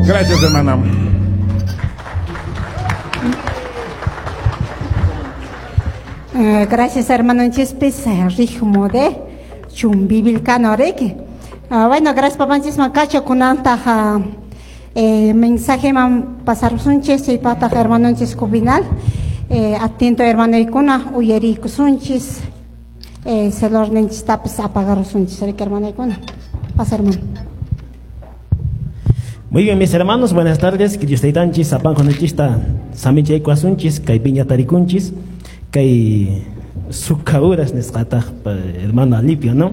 Gracias, hermana. Gracias, hermano Chispis, ritmo de Chumbivilcano Reiki. Bueno, gracias, papanchis, macacho, kunanta, mensaje man pasar sunchis, y pata hermano Cubinal. Atento, hermano Icuna, uyerico sunchis, celor ninchis tapis apagar sunchis, hermano Icuna. Pasa, hermano. Muy bien, mis hermanos, buenas tardes. Que Dios te tanchis, apan conechista, samicha ikuasunchis, kay piña tarikunchis, kay sukauras nesqataq hermano Alipio, ¿no?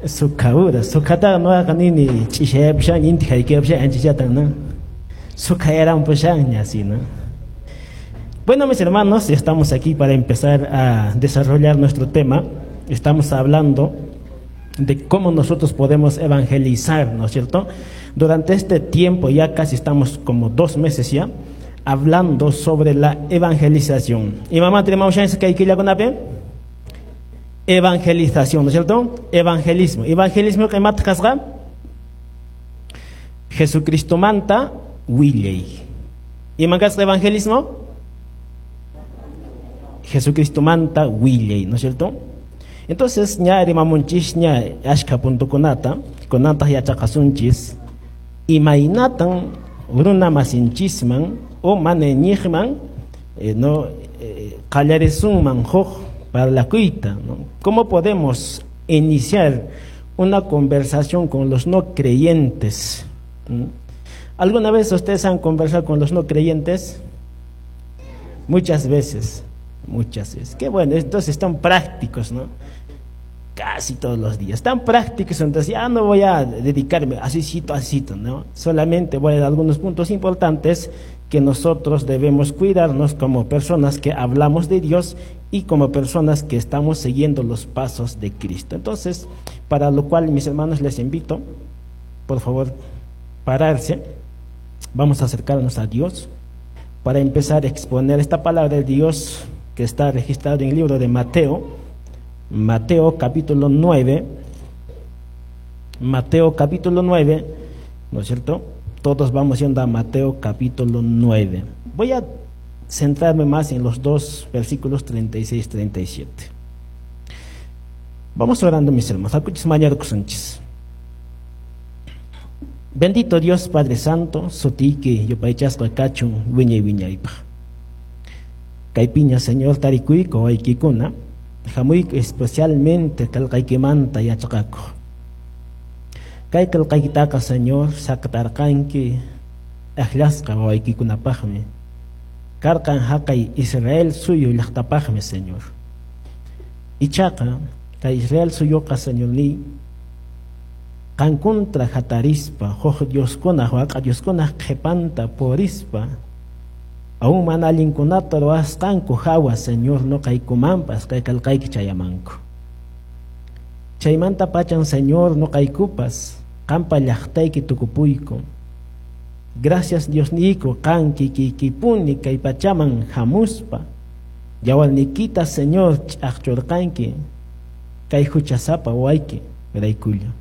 Sukauras, sukata no nini chishayapushan, inti haykiyapushan, anchichatan, ¿no? Sukayarampushan, así, ¿no? Bueno, mis hermanos, estamos aquí para empezar a desarrollar nuestro tema. Estamos hablando de cómo nosotros podemos evangelizar, ¿no es cierto? Durante este tiempo, ya casi estamos como 2 meses ya, hablando sobre la evangelización. ¿Y mamá, tenemos chance que hay que ir con Evangelización, ¿no es cierto? Evangelismo. Evangelismo que mata kasga. Jesucristo manta willey. ¿Y mangas evangelismo? Jesucristo manta willey, ¿no es cierto? Entonces, ña rimamunchis ña ashka punto kunata, kunata yachaqasunchis, imaynatan runa masinchisman o maneñijman, no qallarisunman huk parlakuyta, ¿no? ¿Cómo podemos iniciar una conversación con los no creyentes? ¿Mm? ¿Alguna vez ustedes han conversado con los no creyentes? Muchas veces, muchas veces. Qué bueno, entonces están prácticos, ¿no? Casi todos los días, tan prácticos, entonces ya no voy a dedicarme así, así, ¿no? Solamente voy a dar algunos puntos importantes que nosotros debemos cuidarnos como personas que hablamos de Dios y como personas que estamos siguiendo los pasos de Cristo. Entonces, para lo cual, mis hermanos, les invito, por favor, pararse. Vamos a acercarnos a Dios para empezar a exponer esta palabra de Dios que está registrada en el libro de Mateo. Mateo capítulo 9, Mateo capítulo 9, ¿no es cierto? Todos vamos yendo a Mateo capítulo 9. Voy a centrarme más en los dos versículos 36 y 37. Vamos orando, mis hermanos. Bendito Dios Padre Santo, sotiki, yupaychasqa kachun, wiñay wiñaypaq. Kaypiña, Señor, tarikuyku waykikuna, hamuyku especialmente qillqaykimanta yachaqakuq. Kay qillqaykitaqa, Señor, saqtarqanki aqllasqa wawaykikunapaqmi. Karqan haqay Israel suyu llaqtapaqmi, Señor. Ichaqa kay Israel suyuqa, Señor, ni qan contra hatarispa, huk dioskuna, waq'a dioskuna qhipanta purispa, aún mana allinkunata ruwasqanku hawa, Señor, nuqaykumanpas kay qillqayki chayamanku. Chaymanta pachan, Señor, nuqaykupas qampa llaqtayki tukupuyku. Gracias, Dios niyku, qan kikiykipuni kay pachaman hamuspa. Yawarniykita, Señor, ch'aqchurqanki kay huchasapa wawayki raykulla.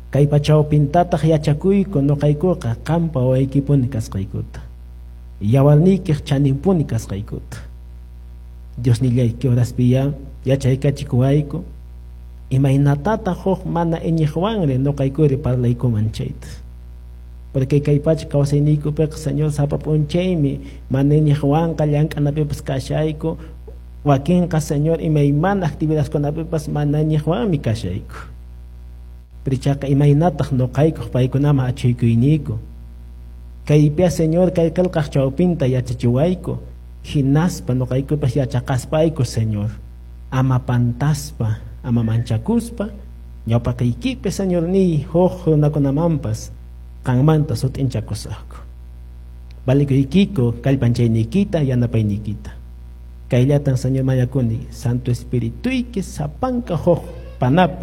Kay pachawpintataq yachakuyku nuqaykuqa qampa wawaykipuni kasqaykuta. Yawarniykiq chaninpuni kasqaykuta. Dios nillayki horaspiya yachaykachikuwayku. Imaynatataq huk mana iñiqwanri nuqaykuri parlaykuman chayta. Porque kay pacha kawsayniykupiqa, Señor, sapa p'unchaymi mana iñiqwanqa llank'anapipas kashayku, wakinqa, Señor, imaymana actividadkunapipas mana iñiqwanmi kashayku. Pero ichaqa imaynataq nuqaykuq paykunaman achhuykuyniku. Kaypiya, Señor, kay qillqaq chawpinta yachachiwayku, hinaspa nuqaykupas yachaqaspayku, Señor, ama pantaspa, ama manchakuspa, ñawpaqaykipi, Señor, ni huk runakunamanpas qanmanta sut'inchakusaqku. Valikuykiku kallpanchayniykita, yanapayniykita. Kayllatan, Señor, mañakuni, Santo Espirituyki sapanka huk panapi.